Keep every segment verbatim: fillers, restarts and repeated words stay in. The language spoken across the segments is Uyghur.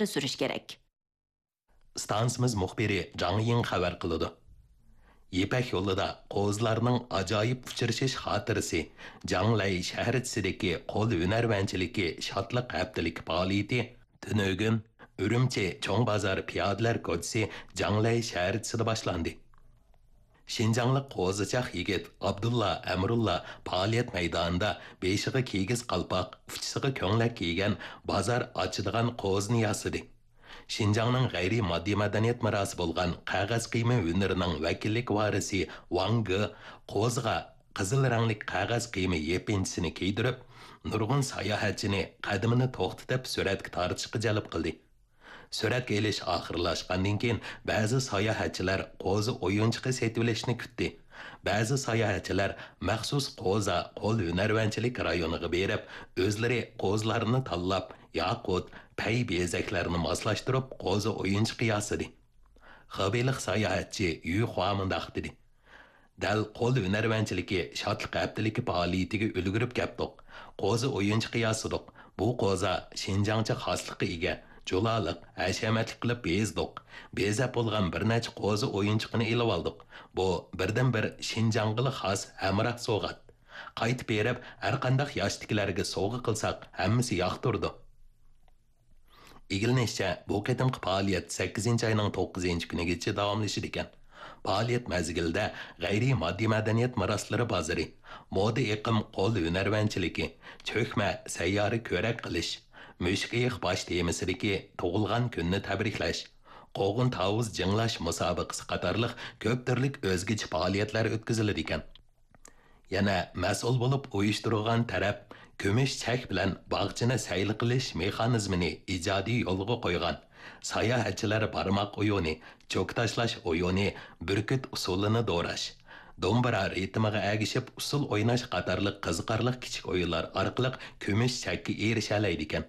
ئىلگىرى سۈرۈش كېرەك. ئىستانسىمىز مۇخبىرى جاڭ يىڭ خەۋەر قىلىدۇ. يىپەك يولىدا قوزىلارنىڭ ئاجايىپ ئۇچرىشىش خاتىرىسى، جاڭلەي شەھەرچىسىدىكى قول ھۈنەرۋەنچىلىكى شادلىق ھەپتىلىكى پائالىيىتى تۈنۈگۈن ئۈرۈمچى چوڭ بازار پىيادىلەر كوچىسى جاڭلەي شەھەرچىسىدە باشلاندى. شىنجاڭلىق قوزىچاق يىگىت ئابدۇللا ئەمرۇللا پائالىيەت مەيدانىدا بېشىغا كىگىز قالپاق، ئۇچىسىغا كۆڭلەك كىيگەن بازار ئاچىدىغان قوزىنى ياسىدى. شىنجاڭنىڭ غەيرىي ماددىي مەدەنىيەت مىراسى بولغان قەغەز قىيما ھۈنىرىنىڭ ۋەكىللىك ۋارىسى ۋاڭ گې قوزىغا قىزىل رەڭلىك قەغەز قىيما يېپىنچىسىنى كىيدۈرۈپ، نۇرغۇن ساياھەتچىنى قەدىمىنى توختىتىپ سۈرەتكە تارتىشقا جەلپ قىلدى. سۈرەتكە ئېلىش ئاخىرلاشقاندىن كېيىن، بەزى ساياھەتچىلەر قوزا ئويۇنچۇقى سېتىۋېلىشنى كۈتتى. بەزى ساياھەتچىلەر مەخسۇس قوزا قول ھۈنەرۋەنچىلىك رايونىغا بېرىپ، ئۆزلىرى قوزىلارنى تاللاپ، ياقۇت، پەي بېزەكلەرنى ماسلاشتۇرۇپ، قوزا ئويۇنچۇقى ياسىدى. خېبېيلىق ساياھەتچى يۈ خۇا مۇنداق دېدى: دەل قول ھۈنەرۋەنچىلىكى شادلىق ھەپتىلىكى پائالىيىتىگە ئۈلگۈرۈپ كەپتۇق. قوزا ئويۇنچۇقى ياسىدۇق. بۇ قوزا شىنجاڭچە خاسلىققا ئىگە، جۇلالىق، ھەشەمەتلىك قىلىپ بېزىدۇق. بېزەپ بولغان بىر نەچچە قوزا ئويۇنچۇقىنى ئېلىۋالدۇق. بۇ بىردىنبىر شىنجاڭغىلا خاس ھەمراھ سوۋغات. قايتىپ بېرىپ، ھەرقانداق ياشتىكىلەرگە سوۋغا قىلساق، ھەممىسى ياقتۇرىدۇ. ئىگىلىنىشىچە، بۇ قېتىمقى پائالىيەت سەككىزىنچى ئاينىڭ توققۇزىنچى كۈنىگىچە داۋاملىشىدىكەن. پائالىيەت مەزگىلىدە غەيرىي ماددىي مەدەنىيەت مىراسلىرى بازىرى، مودا ئېقىم قول ھۈنەرۋەنچىلىكى، چۆكمە سەييارە كۆرەك قىلىش، مۈشۈك ئېيىق باش تېمىسىدىكى تۇغۇلغان كۈننى تەبرىكلەش، قوغۇن تاۋۇز جىڭلاش مۇسابىقىسى قاتارلىق كۆپ تۈرلۈك ئۆزگىچە پائالىيەتلەر ئۆتكۈزۈلىدىكەن. يەنە مەسئۇل بولۇپ ئۇيۇشتۇرغان تەرەپ كۈمۈش چەك بىلەن باغچىنى سەيلە قىلىش مېخانىزمىنى ئىجادىي يولغا قويغان. ساياھەتچىلەر بارماق ئويۇنى، چوك تاشلاش ئويۇنى، بۈركۈت ئۇسسۇلىنى دوراش، دومبىرا رىتىمىغا ئەگىشىپ ئۇسسۇل ئويناش قاتارلىق قىزىقارلىق كىچىك ئويۇنلار ئارقىلىق كۈمۈش چەككە ئېرىشەلەيدىكەن.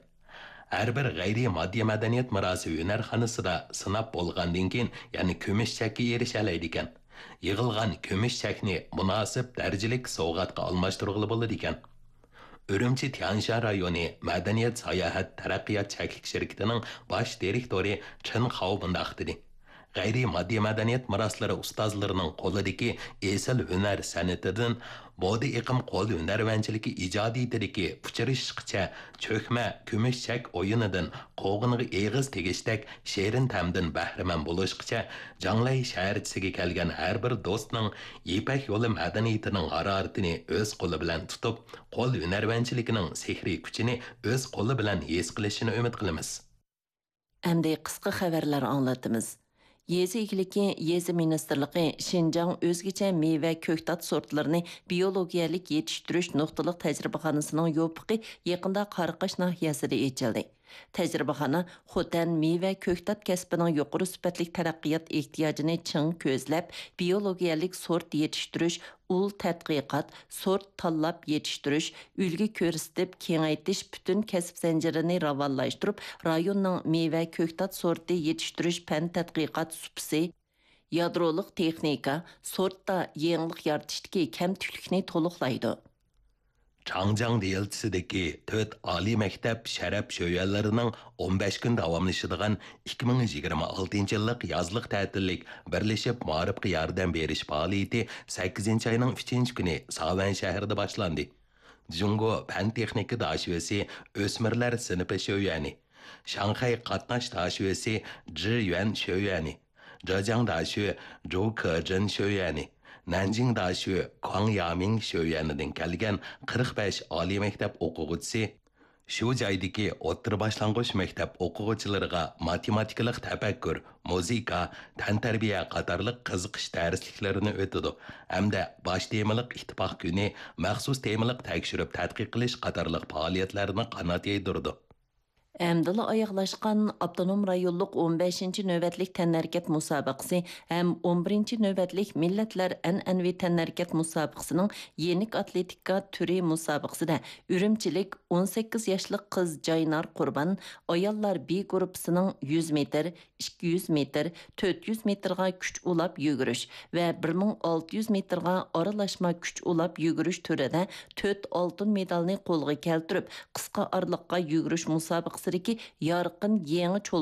ھەر بىر غەيرىي ماددىي مەدەنىيەت مىراسى ھۈنەرخانىسىدا سىناپ بولغاندىن كېيىن، يەنە كۈمۈش چەككە ئېرىشەلەيدىكەن. يىغىلغان كۈمۈش چەكنى مۇناسىپ دەرىجىلىك سوۋغاتقا ئالماشتۇرغىلى بولىدىكەن. ئۈرۈمچى تيەنشان رايونى مەدەنىيەت ساياھەت تەرەققىيات چەكلىك شىركىتىنىڭ باش دىرېكتورى چېن خاۋ مۇنداق دېدى: غەيرىي ماددىي مەدەنىيەت مىراسلىرى ئۇستازلىرىنىڭ قولىدىكى ئېسىل ھۈنەر سەنئىتىدىن مودا ئېقىم قول ھۈنەرۋەنچىلىكى ئىجادىيىتىدىكى ئۇچرىشىشقىچە چۆكمە كۈمۈش چەك ئويۇنىدىن قوغۇنغا ئېغىز تېگىشتەك شېرىن تەمدىن بەھرىمەن بولۇشقىچە، جاڭلەي شەھەرچىسىگە كەلگەن ھەر بىر دوستنىڭ يىپەك يولى مەدەنىيىتىنىڭ ھارارىتىنى ئۆز قولى بىلەن تۇتۇپ، قول ھۈنەرۋەنچىلىكىنىڭ سېھرىي كۈچىنى ئۆز قولى بىلەن ھېس قىلىشىنى ئۈمىد قىلىمىز. ئەمدى قىسقا خەۋەرلەر ئاڭلىتىمىز. يېزا ئىگىلىكى، يېزا مىنىستىرلىقى شىنجاڭ ئۆزگىچە مېۋە، كۆكتات سورتلىرىنى بىيولوگىيەلىك يېتىشتۈرۈش نۇقتىلىق تەجرىبىخانىسىنىڭ يوپۇقى يېقىندا قاراقاش ناھىيەسىدە ئېچىلدى. تەجرىبىخانا خوتەن مېۋە، كۆكتات كەسپىنىڭ يۇقىرى سۈپەتلىك تەرەققىيات ئېھتىياجىنى چىڭ كۆزلەپ، بىيولوگىيەلىك سورت يېتىشتۈرۈش، ئۇل تەتقىقات، سورت تاللاپ يېتىشتۈرۈش، ئۈلگە كۆرسىتىپ كېڭەيتىش پۈتۈن كەسىپ زەنجىرىنى راۋانلاشتۇرۇپ، رايوننىڭ مېۋە، كۆكتات سورتى يېتىشتۈرۈش پەن تەتقىقات سۇپىسى، يادرولۇق تېخنىكا، سورتتا يېڭىلىق يارىتىشتىكى كەمتۈكلۈكنى تولۇقلايدۇ. چاڭجياڭ دېلتىسىدىكى تۆت ئالىي مەكتەپ شەرەپ شۆيۈەنلىرىنىڭ ئون بەش كۈن داۋاملىشىدىغان ئىككى مىڭ يىگىرمە ئالتىنچى يىللىق يازلىق تەتىللىك بىرلىشىپ مائارىپقا ياردەم بېرىش پائالىيىتى سەككىزىنچى ئاينىڭ ئۈچىنچى كۈنى ساۋەن شەھىرىدە باشلاندى. جۇڭگو پەن تېخنىكا داشۆسى ئۆسمۈرلەر سىنىپى شۆيۈەنى، شاڭخەي قاتناش داشۆسى جى يۈەن شۆيۈەنى، جېجياڭ داشۆ جۇ كېجېن شۆيۈەنى، نەنجىڭ داشۆ كۇاڭ يامىڭ شۆيۈەنىدىن كەلگەن قىرىق بەش ئالىي مەكتەپ ئوقۇغۇچىسى شۇ جايدىكى ئوتتۇرا باشلانغۇچ مەكتەپ ئوقۇغۇچىلىرىغا ماتېماتىكىلىق تەپەككۇر، مۇزىكا، تەنتەربىيە قاتارلىق قىزىقىش دەرسلىكلىرىنى ئۆتىدۇ ھەمدە باش تېمىلىق ئىتتىپاق كۈنى، مەخسۇس تېمىلىق تەكشۈرۈپ تەتقىق قىلىش قاتارلىق پائالىيەتلەرنى قانات يايدۇرىدۇ. ئەمدىلا ئاياغلاشقان ئاپتونوم رايونلۇق ئون بەشىنچى نۆۋەتلىك تەنھەرىكەت مۇسابىقىسى ھەم ئون بىرىنچى نۆۋەتلىك مىللەتلەر ئەنئەنىۋى تەنھەرىكەت مۇسابىقىسىنىڭ يېنىك ئاتلېتىكا تۈرى مۇسابىقىسىدە ئۈرۈمچىلىك ئون سەككىز ياشلىق قىز جاينار قۇربان ئاياللار بى گۇرۇپپىسىنىڭ يۈز مېتىر، ئىككى يۈز مېتىر، تۆت يۈز مېتىرغا كۈچ ئۇلاپ يۈگۈرۈش ۋە بىر مىڭ ئالتە يۈز مېتىرغا ئارىلاشما كۈچ ئۇلاپ يۈگۈرۈش تۈرىدە تۆت ئالتۇن مېدالنى قولغا كەلتۈرۈپ، قىسقا ئارىلىققا يۈگۈرۈش مۇسابىقىسىدىكى يارقىن يېڭى چول